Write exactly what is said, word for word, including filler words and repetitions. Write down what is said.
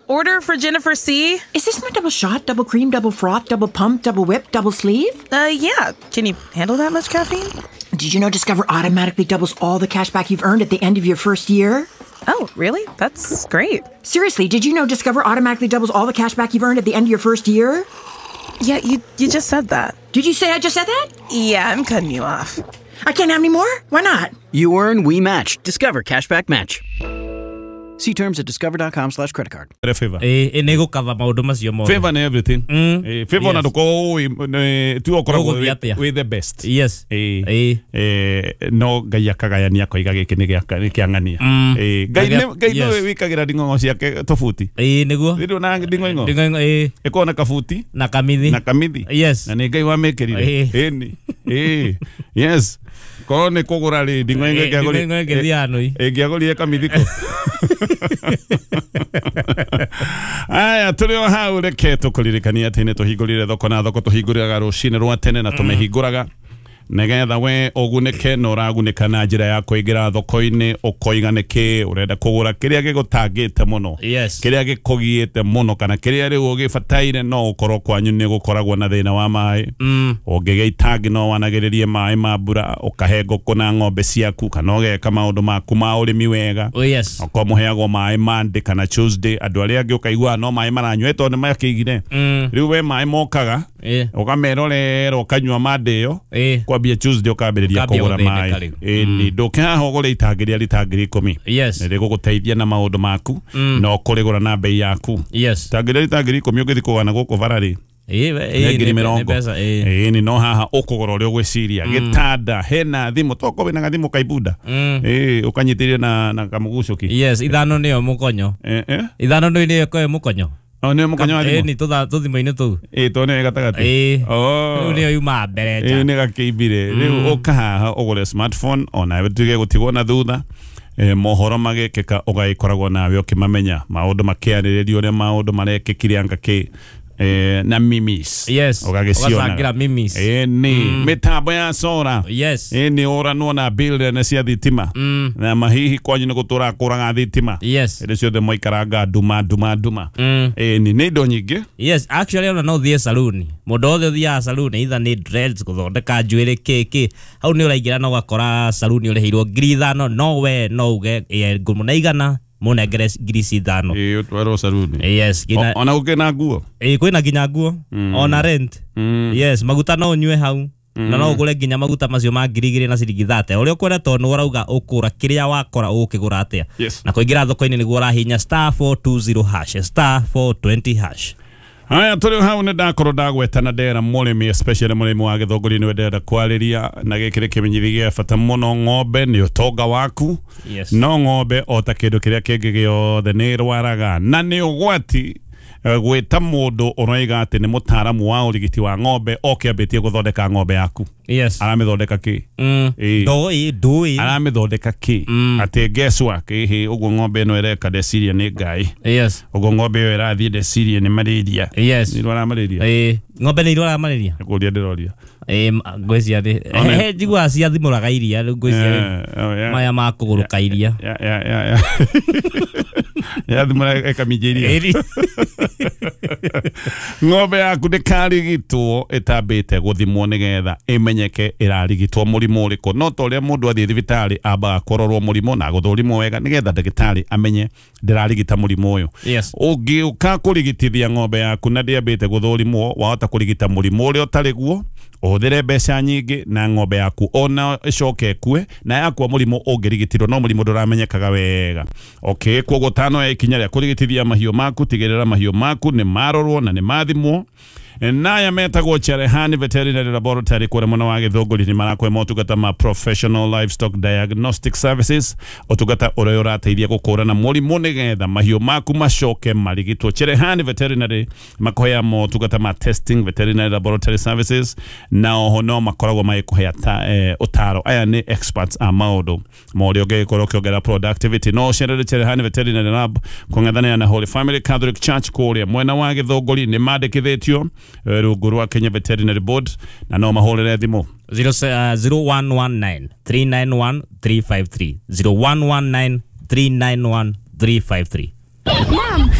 Order for Jennifer C. Is this my double shot, double cream, double froth, double pump, double whip, double sleeve? Uh, yeah. Can you handle that much caffeine? Did you know Discover automatically doubles all the cash back you've earned at the end of your first year? Oh, really? That's great. Seriously, did you know Discover automatically doubles all the cash back you've earned at the end of your first year? Yeah, you, you just said that. Did you say I just said that? Yeah, I'm cutting you off. I can't have any more? Why not? You earn, we match. Discover Cashback Match. See terms at discover dot com slash credit card. Favor. Ĩ nĩ gũkava maũndũ macio mothe. Favor nĩ everything. Mm. Eh, favor na Yes. ndũkorwo ũĩ tu ũkoragwo Ũgũthiĩ wĩ atĩa? Wĩ the best. Yes. Ĩ. Ĩ. Eh, no Ngai akagayania akoiga gĩkĩ nĩ gĩa nĩ kĩa ng'ania. Mm. Ĩ, Ngai Ngai- nĩ Ngai yes. nĩwe wĩkagĩra nding'ong'o ciake tũbuti. Ĩ nĩguo. Rĩrĩ na nding'oing'o Nding'oing'o ĩ. Ĩkoragwo na kabuti na kamithi. Na kamithi. Yes. Na nĩ Ngai wamĩkĩrire. Ĩ. Ĩni. Ĩ, yes, korwo nĩ kũgũra rĩ, nding'oing'o Ĩ, nding'oing'o ĩngĩthiĩ anũi. Ĩngĩagũrire kamithiko. Aya, tũrĩ o hau, reke tũkũririkania atĩ nĩ tũhingũrire thoko, na thoko tũhingũraga rũcinĩ rwa tene na tũmĩhingũraga nĩgetha we ũgunĩke, na ũragunĩka na njĩra ya kũingĩra thoko-inĩ ũkoiga nĩkĩ ũrenda kũgũra, kĩrĩa gĩgũtangĩte mũno, Yes. kĩrĩa gĩkũgiĩte mũno, kana kĩrĩa rĩu ũgĩbataire. No ũkorwo kwanyu nĩ gũkoragwo na thĩna wa maĩ. Mm. Ũngĩgĩa itangi no wanagĩrĩrie maĩ ma mbura, ũkahe ngũkũ na ng'ombe ciaku, kana ũgeka maũndũ maku ma ũrĩmi wega. Oh, yes. Okorwo mũheagwo maĩ Monday kana Tuesday, andũ arĩa angĩ ũkaigua no maĩ maranyua tondũ nĩ makĩigire. Mm. Rĩu we maĩ mokaga, Ĩ. ũkamerorera, ũkanyua Monday ĩyo, Ĩ. kwambia Tuesday ũkambĩrĩria Ũkambia kũgũra gũthĩnĩka maĩ. Rĩu. Ĩni ndũke haha ũgũre itangi rĩa rita ngiri ikũmi. Yes. Nĩ rĩgũgũteithia na maũndũ maku Mm. na ũkũrĩgũra na bei yaku. Yes. Itangi rĩa rita ngiri ikũmi ũngĩthiĩ kũgũra na gũkũ bara rĩ, Ĩ nĩ ĩ ngiri nĩ mĩrongo. Mbeca ĩ. Ĩni no haha ũkũgũra ũrĩa ũgwĩciria. Gĩtanda, hena thimũ, tokorwo wĩna gathimũ kaibunda. Mm. Ĩ, ũkanyitĩrĩria na na kamũgucũki. Yes, ithano nĩyo mũkonyo. Eh, eh. Ithano nĩ nĩyo ĩkoe mũkonyo. O nĩyo mũkonyo wa thimũ? Ĩ ni tũtha tũthimũ-inĩ tũu. Ĩ, to nĩyo gatagatĩ. Ĩ. Oh. Rĩu nĩyo yuma mbere Ĩ, nja. nĩ gakĩimbire. Rĩu ũka haha ũgũre smartphone onawe tuge gũtigwo na thutha. Eh, mohoro magĩkĩka ũgagĩkoragwo nawe ũkĩmamenya, maũndũ makĩarĩrĩrio, ũrĩa maũndũ marekĩkire, anga kĩ eh, na memes. Yes. Ũgagĩciona. Ũgacangĩra memes. Ĩ, nĩ mĩtambo ya sora. Yes. Ĩ, nĩ ũranwo na bill nene cia thitima Mm. na mahihi kwanyu nĩ gũtũra kũraga thitima Yes. hĩndĩ ciothe maikaranga nduma nduma nduma. Mm. Ĩ, nĩ nĩ indo nyingĩ. Yes, actually ona no ũthiĩ saluni. Mũndũ wothe ũthiaga saluni, either nĩ dreads, gũthondeka njuĩrĩ, kĩ kĩ. Hau nĩ ũraingĩra na ũgakora saluni ũrĩhĩirwo ngiri ithano, no we no uge "Ĩ, ngũmũne igana, mũnengere ngiri ici ithano." Ĩ, ũtwarwo saluni. Yes, nginya O- ona gũkĩ na nguo. Ĩ, kwĩna nginya nguo ona rent. Mm. Yes, maguta no ũnyue hau na no ũgũre nginya maguta macio ma ngiri igĩrĩ na ciringi thate ũrĩa ũkwenda, tondũ nĩ ũrauga ũkũra kĩrĩa wakora ũgũkĩgũra atĩa. Yes. Na kũingĩra thoko-inĩ nĩguo ũrahinya star four two zero hash, star four twenty hash. Haya, tũrĩ hau nĩ ndakorwo ndagweta na ndera mũrĩmi, especially mũrĩmi wa Gĩthũngũri nĩwe ndĩrenda kwarĩria, na gĩkĩ nĩ kĩmenyithia gĩa bata mũno. Ng'ombe nĩ ũtonga waku. Yes. No ng'ombe o ta kĩndũ kĩrĩa kĩngĩ gĩothe nĩ ĩrwaraga, na nĩ ũgwati eh, gwĩta mũndũ ũroiga atĩ nĩ mũtaaramu wa ũrigiti wa ng'ombe oke ambĩtie gũthondeka ng'ombe yaku. Yes. Aramĩthondeka kĩ? Mm. Ĩ. Ndũĩ ndũĩ. Aramĩthondeka kĩ? Mm. Atĩ guesswork ĩhĩ ũguo ng'ombe ĩno ĩreka ndeciria nĩ ngai. Yes. Ũguo ng'ombe ĩyo ĩrathiĩ ndeciria nĩ malaria. Yes. Nĩ irwara malaria? Ĩ, ng'ombe nĩ irwaraga malaria? Nĩ kũria ndĩroria. Ĩ, ma- ngwĩciria nĩ One- he njiguaga ciathimũraga iria rĩu ngwĩciria Eh, oh, yeah. maya ma kũgũrũka iria. Ya, ya, ya, ya. Yathimũra ĩkaminja iria. Ĩri. Ng'ombe yaku ndĩkarigitwo ĩtambĩte gũthimwo nĩgetha ĩmenyeke ĩrarigitwo mũrimũ ũrĩkũ. No ta ũrĩa mũndũ athiĩ thibitarĩ ambaga kũrorwo mũrimũ na gũthũrimwo wega nĩgetha ndagĩtarĩ amenye ndĩrarigita mũrimũ ũyũ. Yes. Ũngĩũka kũrigitithia ng'ombe yaku na ndĩambĩte gũthũrimwo, wahota kũrigita mũrimũ ũrĩa ũtarĩ guo, ũhũthĩre mbeca nyingĩ na ng'ombe yaku ona ĩcoke ĩkue, na yakua mũrimũ ũngĩrigitirwo no mũrimũ ndũramenyekaga wega. Okay, koguo tano ya ikinya rĩa kũrigitithia mahiũ maku, tigĩrĩra mahiũ maku nĩ marorwo na nĩ mathimwo. Naya metagwo Cherehani Veterinary Laboratory kũrĩa mwena wa Gĩthũngũri nĩ marakũhe motungata ma professional livestock diagnostic services, ũtungata ũrĩa ũrateithia gũkũrana mũrimũ nĩgetha mahiũ maku macoke marigitwo. Cherehani Veterinary makũhea motungata ma testing, veterinary laboratory services, na oho no makoragwo magĩkũhea ta, eh, ũtaro. Aya nĩ experts a maũndũ ma ũrĩa ũngĩgĩkorwo ũkĩongerera productivity. No ũcerere Cherehani Veterinary Lab kũng'ethanĩra na Holy Family Catholic Church kũrĩa mwena wa Gĩthũngũri. Nĩ mandĩkithĩtio eh, rungu rwa Kenya Veterinary Board, na no mahũrĩre thimũ Zero se- uh, zero one one nine three nine one three five three, zero one one nine three nine one three five three. Mom,